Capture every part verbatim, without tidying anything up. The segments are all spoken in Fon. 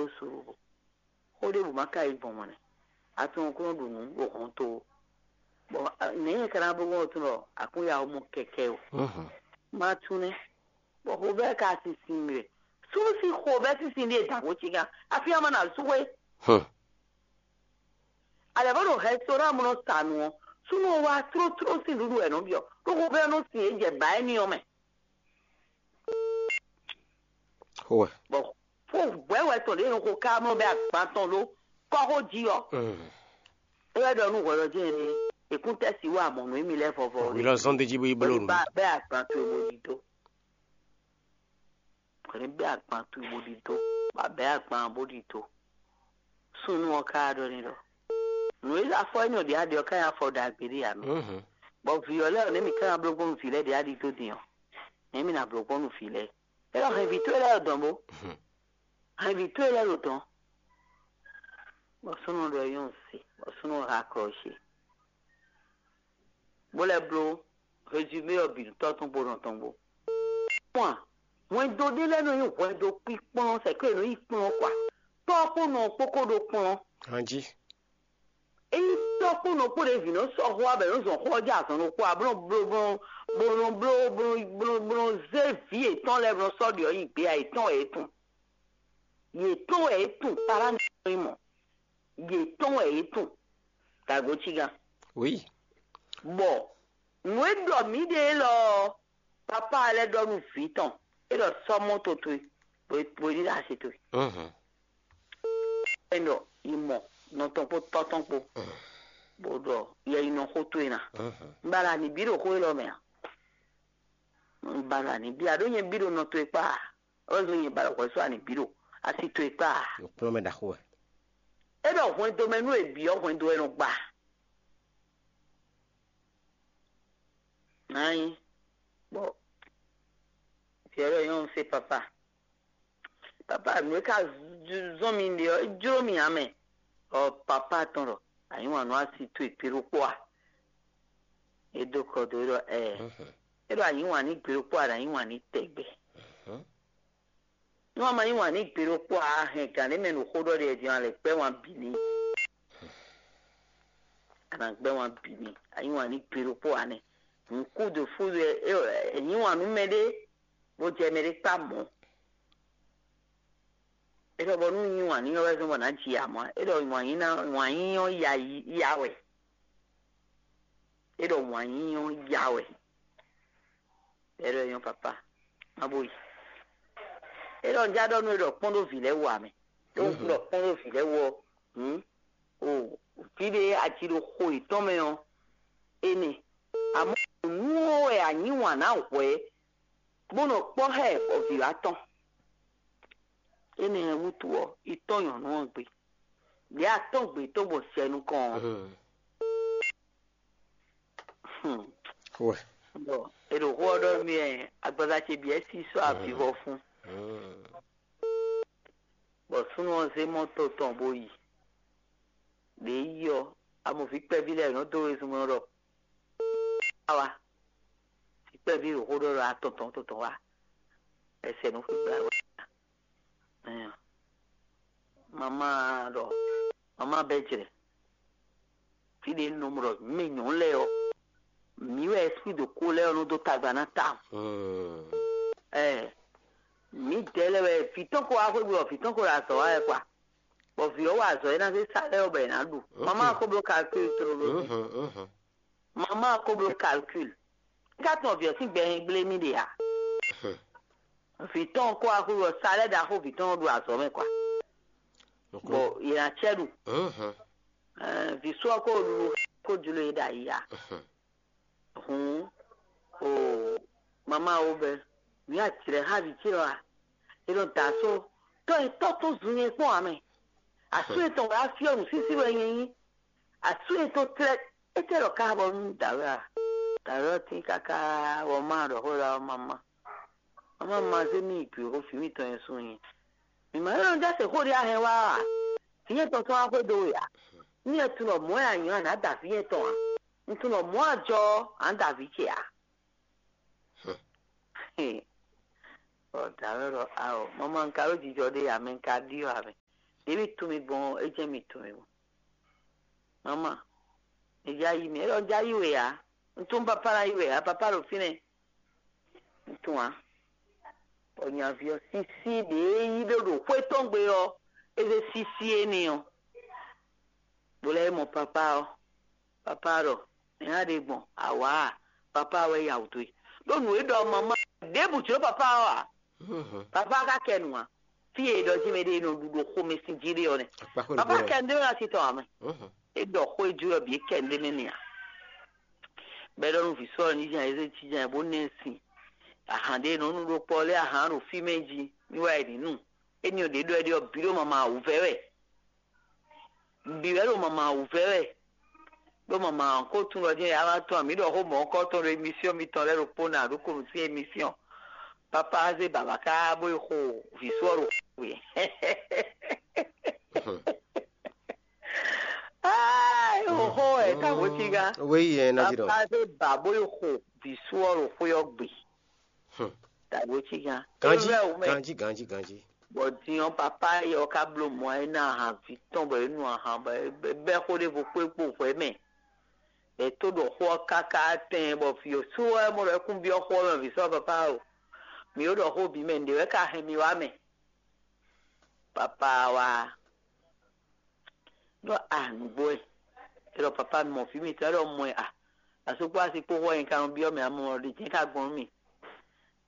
ɖó suɖu. Xó ɖěbǔ ma ka yi gbɔn mɔ̌ nɛ́. A tunwun kó nɔ ɖu nǔ ɖo hɔn to ó. Bɔ nɛ̌ nyɛ ka ná bló gbɔn tún ɖɔ akúnya ɔ́ mɔ kɛkɛ o. Ma tún nɛ́. Bɔ xovɛ́ ka sinsin mì wɛ. Súnnu sín xovɛ́ sinsin ɖíe dǎn xó cígán. Afí ama na sú xwé. Alɛ bó ɖo restaurant mɔ nɔ sa nǔ ɔ́, súnnu ɔ́ wá tlótló sín nǔɖuɖu wɛ nɔ byɔ́. Ɖó xovɛ́ nɔ sin é jɛ bǎ éní ɔ́ mɛ. Xó wɛ. Bɔ fó hwɛhwɛ tɔn ɖě nɔ xo ká mlɔ bɛ agban tɔn ɖó kɔ́xo jí ɔ́. É wɛ ɖɔ nú hwɛɖɔjí ɛnɛ, èkúntɛ́ si wá mɔ̌ nú émí lɛ́ɛ vɔvɔ. Hwi lɔ zɔn d'é jí bó yi bló nǔ. Bá bɛ́ agban towe bó ɖi dó. Hwɛ ní bɛ́ agban towe bó ɖi dó. Bá bɛ́ agban bó ɖi dó. Súnnu ɔ́ ká ɖɔ n'i ɖɔ nǔ e afɔ énɛ́ ɔ́ ɖě a ɖe ɔ́ ká nyí afɔ ɖagbe ɖé ǎ mɛ. Bɔ vǐ ɔ́ lɛ́ɛ ɔ́, nɛ̌ mǐ ká ná bló gbɔn nú vǐ lɛ́ɛ ɖě a ɖi dó din ɔ́, nɛ̌ mǐ ná bló gbɔn nú vǐ lɛ́ɛ? É ɖɔ hɛn vǐ towe lɛ́ɛ ɖo dɔ̌n bó. Hɛn vǐ towe lɛ́ɛ ɖo dɔ̌n. Bɔ súnnu ɖɔ nyɔ́ se, bɔ súnnu ha klɔ́ ce, bó lɛ́ bló résumé ɔ́ bǐ nú tɔ́ tɔn kpó nɔ tɔn kpó. Kpɔ́n a, hwɛndo ɖé lɛ́ɛ nɔ nyí hwɛndo kpíkplɔ́n, sɛ̌ kó è nɔ yí kplɔ́n kɔ a? Tɔ́ kpó nɔ kpó kó ɖó kplɔ́n. Anjí. Ényí tɔ́ kpó nɔ kpó ɖě vǐ nɔ sɔ́ xó abɛ nɔ zɔn xó ɔ́ jɛ azɔn ɖokpó a, bó nɔ bló bó nɔ bló bó nɔ bló bó nɔ zé vǐ yětɔn lɛ́ɛ bó nɔ sɔ́ ɖě ɔ́ nyi gbé a, yětɔn wɛ é tun. Yětɔn wɛ é tun, pará nɔ nyí mɔ̌. Yětɔn wɛ é tun. Dago cígán. Oui. Bɔ nǔ e ɖɔ mǐ ɖe élɔ́ ɔ́, papá lɛ́ɛ ɖɔ nú vǐ tɔn, é ɖɔ sɔ́ mɔto towe, bó bó ní ɖo asi towe. Mhm. É ɖɔ yi mɔ nɔ tɔn kpó tɔ́ tɔn kpó, bó ɖɔ yɛ yi nɔ xó towe ná. Mhm. Un ba ɖo ani bí ɖo xó élɔ́ mɛ a? Un ba ɖo ani bí a ɖó nyɛ bí ɖo nɔ towe kpá a? Ɔ́ zɔn nyɛ ba ɖo hwɛ̌ sɔ́ ani bí ɖo asi towe kpá a? Yǒkplɔ́n mɛ ɖaxó wɛ. É ɖɔ hwɛndo mɛ nú è bǐ ɔ́, hwɛndo wɛ nɔ gba. Nǎ nyí bɔ vǐ ɔ́ ɖɔ nyɔ́ un se papa. Papa, nǔ e ka zɔ́n mi ɖe ɔ́, é jló mì ǎ mɛ. Ɔ papa tɔn ɖɔ, anyǐ wǎn nú asi towe gbe ɖokpó a? É dó kɔ dó é ɖɔ ɛɛ. É ɖɔ anyǐ wǎn ní gbe ɖokpó a, ɖo anyǐ wǎn ní tɛgbɛ. Nú a ma yí wǎn n'i gbe ɖokpó ǎ, a hɛn gǎn ɖé mɛ ɖo xó ɖɔ ɖe din, a lɛ gbɛ́ wǎn bǐ n'i. A nǎ gbɛ́ wǎn bǐ n'i. A yí wǎn n'i gbe ɖokpó ǎ nɛ́. Nǔkúdo fúdo e è yí wǎn nú mɛɖé, bó jɛ mɛɖé kpá mɔ̌. É ɖɔ bɔ nú yí wǎn n'i ɔ́ wɛ zɔ́n bɔ nǎ ji amɔ̌. É ɖɔ wǎn yí ná wǎn yí ɔ́ ya yi ya wɛ. É ɖɔ wǎn yí ɔ́ ya wɛ. É ɖɔ é nyɔ́ papa, má bó yi. É ɖɔ un já ɖɔ nú we ɖɔ kpɔ́n ɖó vǐ lɛ́ɛ wú ǎ mɛ. Ɖó un ɖɔ kpɔ́n ɖó vǐ lɛ́ɛ wú ɔ́, hǔn, o vǐ ɖé aji ɖo xo yětɔn mɛ ɔ́, énɛ́. Amɔ̌ nǔ ɔ́ wɛ a yí wǎn ná hwɛ̌, bó nɔ kpɔ́ xá ɛ bɔ vǐ wá tɔn. Énɛ́ wútu ɔ́, yi tɔ́n nyɔ̌nu ɔ́ gbe. Lě a tɔ́n gbe tɔn gbɔn sɛ nukɔn ɔ́. Wɛ. Bɔ è ɖo xó ɔ́ ɖɔ mì ɛ, agbaza ce bǐ ɛ sí sɔ́ avivɔ fún. Bɔ súnnu ɔ́ zé mɔto tɔn bó yi. Ɖě yi ɔ́, amɔ̌ví kpɛví lɛ́ɛ nɔ dó wezun mɛ ɖɔ awa. Vǐ kpɛví ɖo xó ɖɔ ɖɔ atɔn tɔn tɔn wá. Ɛsɛ nɔ xwé gbla wɛ. Ɛɛ, mama ɖɔ mama bɛ jrɛ. Fí ɖé nɔ ɖɔ mɛ nyɔ̌nu lɛ́ɛ ɔ́, mǐ wɛ esprit de ko lɛ́ɛ ɔ́ nɔ dó tagba ná ta. Ɛɛ, mǐ dɛ lɛ́ɛ wɛ vǐ tɔn ko wá xwé gbe ɔ́, vǐ tɔn ko ɖo azɔ̌ wa wɛ kwa. Bɔ vǐ ɔ́ wa azɔ̌ e ná zé sa lɛ́ɛ ɔ́ bɔ è nǎ ɖu. Mama ko bló calcul tlóló. Mama ko bló calcul. Ká tɔn vǐ ɔ́ sín gbɛ hɛn gblé mì ɖe ǎ. Vǐ tɔn ko axu ɔ́ sa lɛ́ ɖaxó vǐ tɔn ɖo azɔ̌ mɛ kwa. Bɔ yě ná cɛ ɖu. Vǐ sɔ́ ko ɖu ko jló e ɖo ayi ǎ. Hǔn o mama wo bɛ nǔ ya jlɛ̌ xá vǐ ce ɔ́ a? È nɔ da asó tɔ́ e tɔ́ tɔn zun nyɛ kpɔ́n ǎ mɛ. Asú etɔn wɛ á fyɔ́ nǔsísí wɛ nyɛ nyí. Asú etɔn tlɛ é tɛ ɖɔ ká bɔ nú dǎwe a? Dǎwe ɔ́ tín káká bɔ má ɖɔ xó ɖɔ mama. Mama ma zé mì yi gbě xó fǐ mitɔn nyɛ sú nyɛ. Mǐ ma nyɔ́ nɔ jɛ se xó ɖé a hɛn wá a? Vǐ nyɛ tɔn tɔn wá xwedó we a? Nú nyɛ tunɔ mɔ̌ wɛ a nyɔ̌ a nǎ da vǐ nyɛ tɔn a? Un tunɔ mɔ̌ a jɔ ɔ́, a nǎ da vǐ ce a? Ɔ dǎwe ɖɔ ao, mama un ka ɖó jijɔ ɖé a mɛ un ka ɖi ɔ́ a mɛ. Ɖě mi tunwun mi gbɔn ɔ́, é jɛ́n mi tunwun mi gbɔn. Mama, mi já yí mi. É ɖɔ un já yí we ǎ. Un tunwun papa ná yí we ǎ. Papa ɖo fínɛ́. Un tunwun ǎ. Bɔ nyaví ɔ́ sísí ɖě é yí ɖó ɖo xwé tɔn gbe ɔ́, é zé sísí éní ɔ́, bó lɛ́ mɔ papa ɔ́. Papa ɖɔ: "Nɛ̌ a ɖe gbɔn? Awǎ a? Papa wɛ ya wǔ dó e." Ɖó nǔ e ɖɔ mama ɖěbǔ jló papa ɔ́ ǎ. Papa ka kɛ nǔ ǎ. Fí e è ɖɔ jí mɛ ɖé e nɔ ɖu ɖo xomɛ sín jí ɖé ɔ́ nɛ́. Papa kɛ ndé mɛ asi tɔn ǎ mɛ. É ɖɔ xó e jú ɔ́ bǐ é kɛ ndé mɛ n'i ǎ. Bɔ é ɖɔ nú vǐ sɔ́ ɔ́ ní jan é zé jínjɔ́n ɛ bó ná ɛ sin. Ahan ɖé e nɔ nu ɖó kpɔ́ lɛ́ɛ ahan ɖo fí mɛ jí ní wá yi ní nu. Éní ɔ́ ɖě ɖɔ é ɖe ɔ́ bǐ ɖo mama wǔvɛ́ wɛ. Bǐ wɛ ɖo mama wǔvɛ́ wɛ. Ɖó mama ɔ́ ko tunwun ɖɔ jɛ́n yǎ wá tɔn mǐ ɖɔ xó mɔ̌hunkɔtɔn ɖo emisiyɔn mitɔn lɛ́ɛ ɖokpó ná ɖó konu sín emisiyɔn. Papa zé baba ká bó yi xo vǐ sɔ́ ɖo xwe. Ai, oxo ɛ ka vo ci gá. Wéyi ɛ ná jí ɖɔ. Papa zé ba bó yi xo vǐ sɔ́ ɖo xwe ɔ́ gbe. Ta vo ci gá. Ganji, ganji, ganji, ganji. Bɔ din ɔ́, papa yɛ ɔ́ ka bló mɔ ɛ ná ahan vǐ tɔn bɔ é nu ahan bɔ é bɛ́ xó ɖěvo kpé kpo hwɛ mɛ. Ɛ tó ɖɔ xó ɔ́ káká tɛn bɔ vǐ ɔ́ sú wɛ mɔ ɖɔ é kún byɔ́ xó ɔ́ mɛ vǐ sɔ́ papa o. Mǐ ɖo ɖɔ xó bǐ mɛ nǔɖé wɛ ka hɛn mi wá mɛ. Papa wá ɖɔ a nǔgbó ɛ. É ɖɔ papa mɔ vǐ mitɔn é ɖɔ mɔ ɛ a. Asú kpó asi kpó xó ɛ nyí ka nɔ byɔ́ mɛ amɔ ɖě jɛ́n ka gbɔn nú mì.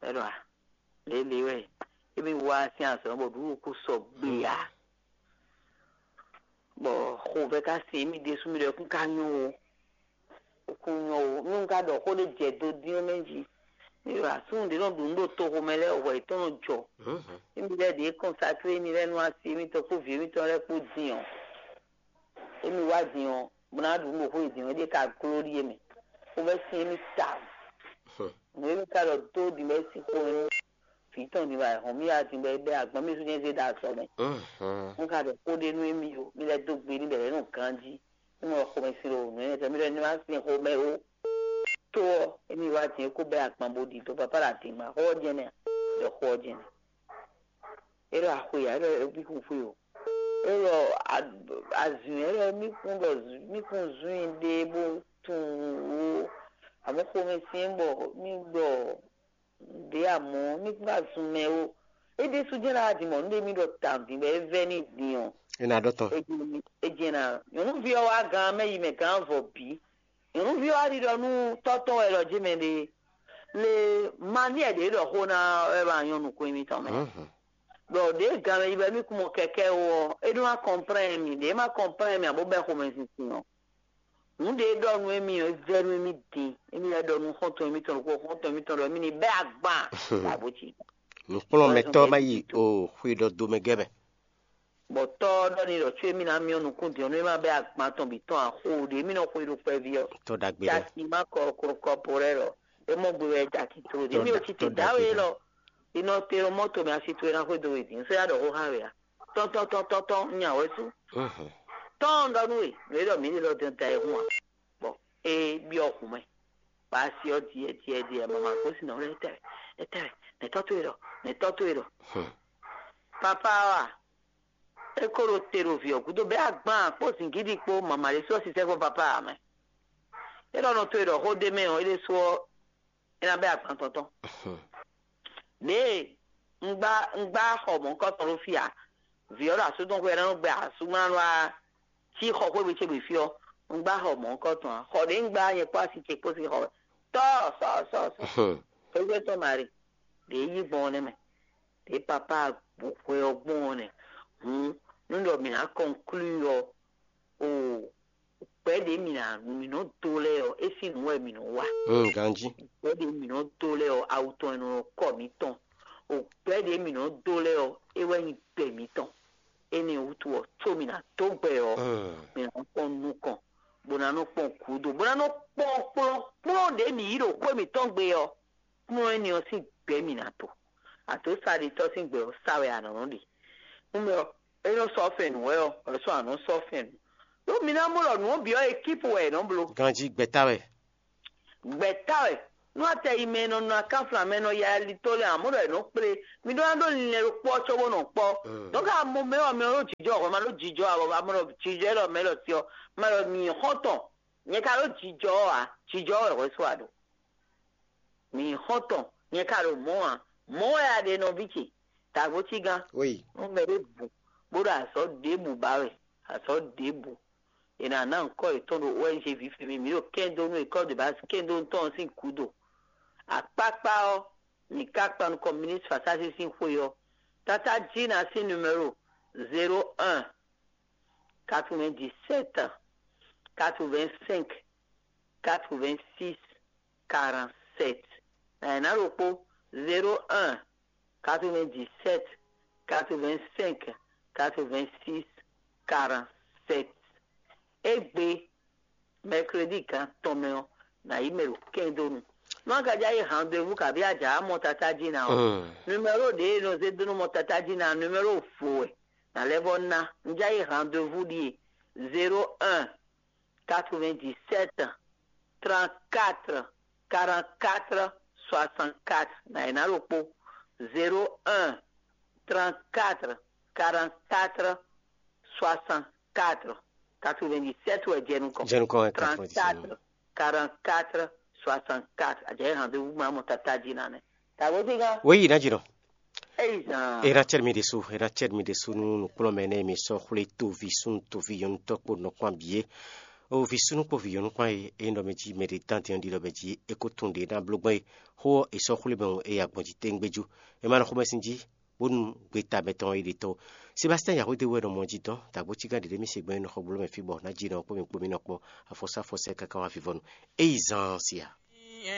É ɖɔ a lě lě wɛ émí wá sín azɔ̌ bɔ ɖǔɖú kú sɔgbe ǎ. Bɔ xovɛ́ ka sin émí ɖésú mì ɖɔ kún ka nyɔ́ o. Kún nyɔ́ o. Nú un ka ɖɔ xó ɖé jɛ do dín ɔ́ mɛ jí. Mì ɖo asúnú ɖě nɔ ɖu nǔ ɖo toxo mɛ lɛ́ɛ hwɛ yětɔn nɔ jɔ. Émí lɛ́ɛ ɖě kɔnsaklé émí lɛ́ɛ nú asi émítɔn kpó vǐ émítɔn lɛ́ɛ kpó din ɔ́. Émí wá din ɔ́, bó ná ɖu nǔ ɖo xó e din ɔ́, é ɖíe ka gló ɖíe mɛ. Xovɛ́ sin émí tawun. Nǔ e mì ka ɖɔ dó ɖi bɔ é sín xó nú vǐ tɔn din bɔ ayǐhɔ́n mì wá din bɔ é bɛ́ agban mì sú nyɛ zé ɖo azɔ̌ mɛ. Un ka ɖɔ xó ɖé nú émí o, mì lɛ́ dó gbe n'i bɔ è lɛ̌ nɔ ganjí. Mì mɔ xomɛ sin ɖo nǔ énɛ́ tɔn mì ɖɔ ní má sin xomɛ ó. Tó ɔ́, émí wá din é kó bɛ́ agban bó ɖi dó papá ɖo adǐngba xó ɔ́ jɛ́n nɛ́ ǎ, ɖɔ xó ɔ́ jɛ́n nɛ́. É ɖo axwe ǎ, é ɖo bí kún xwe o. É ɖo azǔn, é ɖo mì kún ɖɔ mì kún zún i ɖe bó tunwun ó. Amɔ̌ xomɛ sin bɔ mì ɖɔ ɖě amɔ̌ mì kún ka zun mɛ ó. É ɖésú jɛ́n ná wá din mɔ̌ nú ɖé mì ɖɔ tawun din bɔ é vɛ́ n'i din ɔ́. É ná ɖɔ tɔn. É jɛ́n ná nyɔ̌nuví ɔ́ wá gán mɛ yi mɛ gán vɔ bǐ. Nyɔ̌nuví ɔ́ wá ɖiɖɔ nú tɔ́ tɔn wɛ ɖɔ jí mɛ ɖe le mani ɛ ɖě ɖɔ xó ná wɛ wá nyɔ́ nukún émítɔn mɛ. Ɖɔ ɖě gan mɛ yi bɔ émí kún mɔ kɛkɛ́ ó ɔ́, é ɖó ná kɔnplɛ́n mì, ɖě má kɔnplɛ́n mì abo bɛ́ xomɛzinsin ɔ́. Nǔ ɖě ɖɔ nú émí ɔ́, é vɛ́ nú émí din, émí lɛ́ ɖɔ nú xɔ́ntɔn émítɔn ɖokpó xɔ́ntɔn émítɔn ɖɔ émí ní bɛ́ agban ɖo abǒ jí. Nǔkplɔ́nmɛtɔ́ má yi o xwe ɖɔ do mɛ gɛ́ mɛ. Bɔ tɔ́ ɔ́ ɖɔ n'i ɖɔ có émí ná myɔ́ nukún din ɔ́, nú é má bɛ́ agban tɔn bǐ tɔn axo ɖě émí nɔ xwe ɖo kpɛví ɔ́. Tɔ́ ɖagbe lɛ́ɛ. Jaki má kɔ kɔ kɔ po lɛ́ɛ ɖɔ é mɔ gbe wɛ jaki tlo ɖě émí ò ci te dǎwe lɔ. Inɔ te ɖo mɔto mɛ asi towe ná xwedó we din sɛ ya ɖɔ xó xa we a. Tɔntɔn tɔntɔn tɔn nya wɛ sú. Tɔn ɖɔ nú we nú e ɖɔ mǐ ɖe lɔ dɛn da e hun a. Bɔ e byɔ hun mɛ. Ba asi ɔ diɛ diɛ diɛ mama ko sin nɔ lɛ etɛ etɛ nɛ tɔ to e ɖɔ nɛ tɔ to e ɖɔ. Papa wa e ko ɖo te ɖo vǐ ɔ gúdo bɛ agban kpó zingídi kpó mama ɖé sɔ sisɛ fɔ papa mɛ. E ɖɔ nɔ to e ɖɔ xó ɖé mɛ ɔ e ɖe sɔ é ná bɛ́ agban tɔn tɔn. Ɖěe un gbá un gbá xɔ mɔ̌hunkɔtɔn ɖó fí ǎ. Vǐ ɔ́ ɖo asú tɔn xwé ɔ́ ná nɔ gbɛ asúmlánú wá cí xɔ xwé gbe ce gbe fí ɔ́, un gbá xɔ mɔ̌hunkɔtɔn ǎ. Xɔ ɖě un gbá nyɛ kpó asi ce kpó sín xɔ wɛ. Tɔ́ sɔ sɔ sɔ. Xwégbé tɔn Mari, ɖě yí gbɔn ɔ́ nɛ́ mɛ. Ɖě papá hwe ɔ́ gbɔn ɔ́ nɛ́. Hǔn nú ɖɔ mǐ ná kɔnklúi ɔ́, o gbɛ̌ ɖě mǐ ná mǐ nɔ dó lɛ́ɛ ɔ́, é sín nǔ wɛ mǐ nɔ wa. Ganjí. Gbɛ̌ ɖě mǐ nɔ dó lɛ́ɛ ɔ́, awu tɔn e nɔ kɔ mǐtɔn. O gbɛ̌ ɖě mǐ nɔ dó lɛ́ɛ ɔ́, é wɛ nyí gbɛ mǐtɔn. Énɛ́ wútu ɔ́, có mǐ ná dó gbɛ ɔ́, mǐ ná kpɔ́n nukɔn, bó ná nɔ kpɔ́n gǔdo, bó ná nɔ kpɔ́n kplɔ́nkplɔ́n ɖě mǐ yí ɖo xwé mǐtɔn gbe ɔ́, kplɔ́n énɛ́ ɔ́ sín gbɛ̌ mǐ ná to. Àdǒsáɖitɔ́ sín gbɛ ɔ́ sá wɛ a nǎ nɔ ɖe. Nú mɛ ɔ́, é nɔ sɔ́ fɛn nǔ wɛ ɔ́, wɛ sɔ́ a nǎ sɔ́ fɛn nǔ. Ɖó mi ná mɔ ɖɔ nǔ ɔ́ bǐ ɔ́, ekípu wɛ è nɔ bló. Ganjí gbɛ̌ta wɛ. Gbɛ̌ta wɛ. Nú atɛ yi mɛ e nɔ nɔ akánflan mɛ e nɔ ya alitó lɛ́ɛ ǎ, mɔ̌ ɖɔ è nɔ kplé. Mi ɖó ná ɖó linlɛn ɖokpó ɔ́ cóbó nɔ kpɔ́. Donc amɔ mɛ ɔ́, mɛ ɔ́ ɖó jijɔ hwɛ ma ɖó jijɔ ǎ, bɔ amɔ ɖɔ jijɔ élɔ́ mɛ élɔ́ cí ɔ́, ma ɖɔ mǐ xɔ́ntɔn. Nyɛ ka ɖó jijɔ ɔ́ ǎ, jijɔ ɔ́ wɛ hwɛ sú a ɖo. Mǐ xɔ́ntɔn, nyɛ ka ɖo mɔ̌ ǎ. Mɔ̌ wɛ a ɖe nɔví ce. Tagbo cí gán. Oui. Nú mɛ ɖé bu bó ɖo azɔ̌ ɖěbǔ ba wɛ, azɔ̌ ɖěbǔ. È nǎ ná ŋkɔ́ yětɔn ɖo O N G vǐ fí mì, mǐ ɖo kɛ́ndó nú école de base kɛ́ndó tɔn sín gǔdo. Akpákpá ɔ́, mǐ ka kpan nukɔn ministre Fasási sín xwe ɔ́. Tátá Jina sín numéro zéro un, quatre-vingt-dix-sept, quatre-vingt-cinq, quatre-vingt-six, quarante-sept. Nǎ ɖokpó, zéro un, quatre-vingt-dix-sept, quatre-vingt-cinq, quatre-vingt-six, quarante-sept. Égbé, mercredi gán tɔn mɛ ɔ́, nǎ yi mɛ ɖo kɛ́ndónu. Nú a ka já yi rendez-vous kabí a jǎ mɔ tata jí ná ɔ́, numéro ɖě e nɔ zé dó nú mɔ tata jí ná, numéro vo wɛ. Nǎ lɛ́ vɔ́ ná. Un já yi rendez-vous ɖíe: zéro un, quatre-vingt-dix-sept, trente-quatre, quarante-quatre, soixante-quatre. Nǎ yi ná ɖokpó: zéro un, trente-quatre, quarante-quatre, soixante-quatre. Quatre-vingt-dix-sept wɛ jɛ nukɔn. Jɛ nukɔn wɛ quatre-vingt-dix-sept. Trente-quatre, quarante-quatre, soixante-quatre. A jɛ rendez-vous ma mɔ tata jí ná nɛ. Tagbo cí gán. Wěyi ná jǐ nɔ. Eyi zan. Era cɛ́ mi ɖésú, era cɛ́ mi ɖésú nú nǔkplɔ́nmɛ énɛ́ e mi sɔ́ xwlé toví súnnu toví nyɔ̌nu tɔ́ kpó nɔ kpán bǐ é. O vǐ súnnu kpó vǐ nyɔ̌nu kpán e é nyí ɖɔ mɛ jí mɛ ɖě dán din ɔ́ ɖi ɖɔ mɛ jí é kó tunwun ɖě ná bló gbɔn é. Xó ɔ́, è sɔ́ xwlé mɛ ɔ́, é yi agbɔ̌n jí téŋgbéjú. È ma nɔ xomɛ sín jí, bónú gbeta mɛtɔn ɔ́ yi ɖe tɔ́. Sebastɛ́n Yahwédé wɛ nɔ mɔ jí dɔn, dǎgbó cígán ɖě ɖé mì se gbɛn nɔ xɔ bló mɛ fí bɔ ná jí nɔ kpó mi kpó mi nɔ kpɔ́ afɔsá fɔsɛ káká wá vivɔnu. Eyi zan sia.